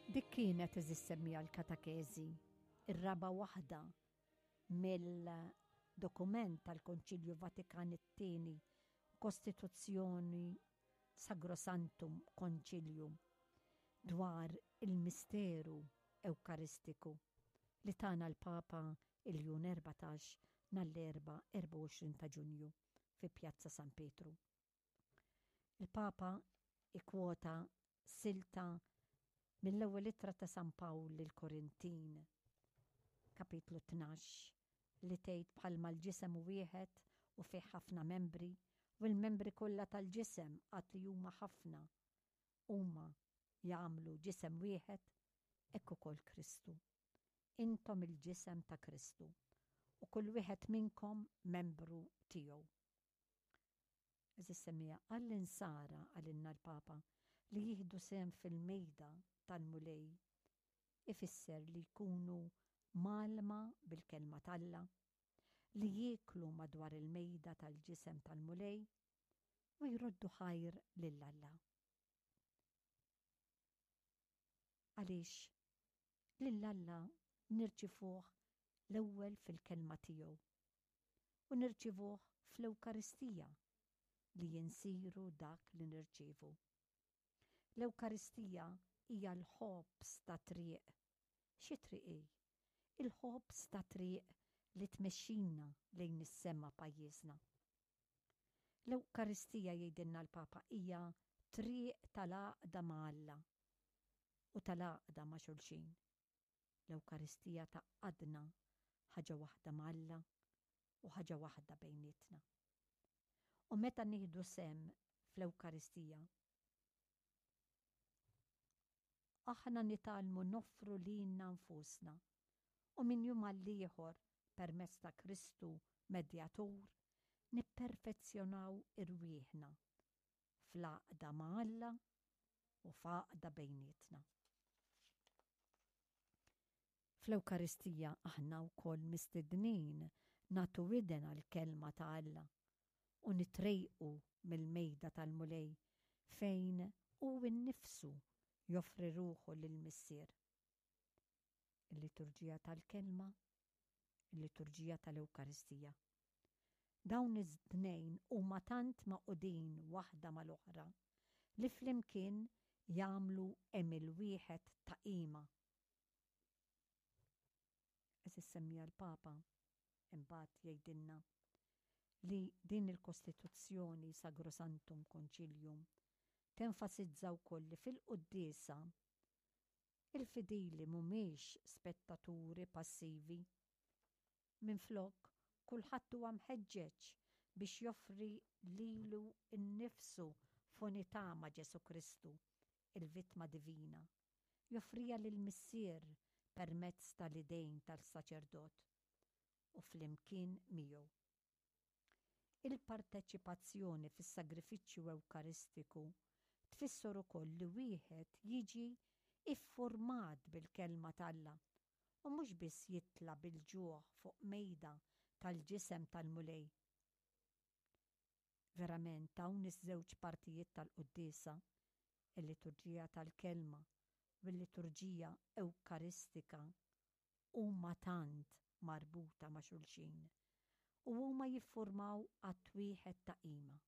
Dik kienet eżis semmija l-katakezi, ir-raba' waħda mill-dokument tal-Konċilju Vatikan it-Tieni, Kostituzzjoni Sagrosanctum Concilium, dwar il-misteru Ewkaristiku li tana l-Papa Iljun 14 nhar l-Erbgħa 24 ta' Ġunju fi Pjazza San Pietru. Il-Papa ikkwota silta mill-ewwel ittra ta' San Pawl lill-Korintin, kapitlu 12, li tgħid bħalma l-ġisem hu wieħed u fih ħafna membri, u l-membri kollha tal-ġisem għad li huma ħafna, huma jagħmlu ġisem wieħed, hekk ukoll Kristu. Intom il-ġisem ta' Kristu, u kull wieħed minnkom membru tiegħu. Għeżież semmiegħa, għall-Insara, qalilna l-Papa, li jieħdu sehem fil-mejda tal-Mulej ifisser li jkunu mgħallma bil-Kelma t'Alla, li jieklu madwar il-mejda tal-ġisem tal-Mulej u jroddu ħajr lil Alla. Għaliex lil Alla nirċivuh l-ewwel fil-Kelma tiegħu u nirċivuh fl-Ewkaristija li insiru dak li nirċievu. L-Ewkaristija hija l-ħobż tat-triq. Xi triq hi? Il-ħobż tat-triq li tmexxina lejn is-sema pajjiżna. L-Ewkaristija jgħidilna l-Papa hija triq tal-għaqda ma' Alla u tal-għaqda ma' xulxin. L-Ewkaristija tgħaqqadna ħaġa waħda ma' Alla u ħaġa waħda bejnietna. U meta nieħdu sehem fl-Ewkaristija, aħna nitgħallmu noffru lilna nfusna u minn jum għall-ieħor permezz ta' Kristu Medjatur nipperfezzjonaw irwieħna fl-għaqda ma' Alla u f'għaqda bejnietna. Fl-Ewkaristija aħna wkoll mistednin nagħtu widen għall-Kelma ta' Alla u nitrejqu mill-mejda tal-Mulej fejn hu nnifsu joffri ruħu lill-Missier. Il-liturġija tal-Kelma, il-liturġija tal-Ewkaristija. Dawn it-tnejn huma tant magħqudin waħda mal-oħra li flimkien jagħmlu għemil wieħed ta' qima. Għeżież semmiha l-Papa imbagħad jgħidilna li din il-Kostituzzjoni Sagrosanctum Concilium tenfasizza wkoll li fil-quddiesa il-fidili mhumiex spettaturi passivi. Minflok, kulħadd huwa mħeġġeġ biex joffri lilu nnifsu f'unità ma' Ġesù Kristu, il-Vittma Divina, joffriha lill-Missier permezz tal-idejn tas-saċerdot u flimkien miegħu. Il-parteċipazzjoni fis-sagrifiċċju Ewkaristiku tfisser ukoll li wieħed jiġi iffurmat bil-Kelma t'Alla u mhux biss jitla' bil-ġuħ fuq mejda tal-ġisem tal-Mulej. Verament hawn iż-żewġ partijiet tal-quddiesa, il-liturġija tal-Kelma u l-liturġija Ewkaristika, huma tant marbuta ma' xulxin u huma jiffurmaw att wieħed ta' qima.